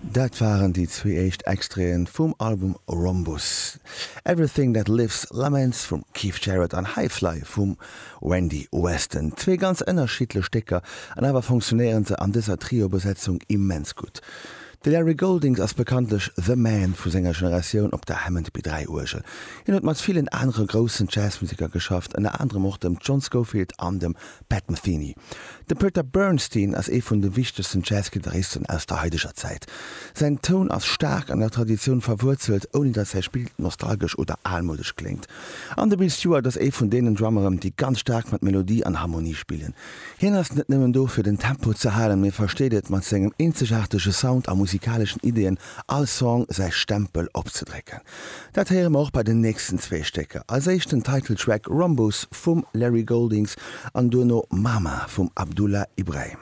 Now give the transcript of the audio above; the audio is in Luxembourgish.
Dat waren déi zwee éischt Extraiten vum Album Rhombus. Everything That Lives Laments vum Keith Jarrett an High Fly vum Wendy Weston. Zwee ganz ënnerschiddlech Stécker an awer funktionéieren se an dëser Trio-Besetzung immens gutt. De Larry Goldings ass bekanntlech The Man vu senger Generatioun op der Hammond B3 Uergel. Hien huet mat villen anere groussen Jazzmuseker geschafft, ënner anerem och dem John Scofield an dem Pat Metheny. De Peter Bernstein ass ee vun de wichtegsten Jazzgittaristen aus der haideger Zäit. Säin Toun ass staark an der Traditioun verwuerzelt, ouni datt säi Spill nostalgesch oder almoudesch kléngt. An de Bill Stewart ass ee vun deenen Drummeren, déi ganz staark mat Melodie an Harmonie spillen. Hien ass net nëmmen do fir den Tempo ze halen, mee versteet et mat sengem eenzegaartege Sound a musikaleschen Ideeën all Song säi Stempel opzedrécken. Dat héiere mer och bei den nächsten zwee Stécker. Als éischt den Title Track Rhombus vum Larry Goldings an duerno Mama vum Abdullah Ibrahim.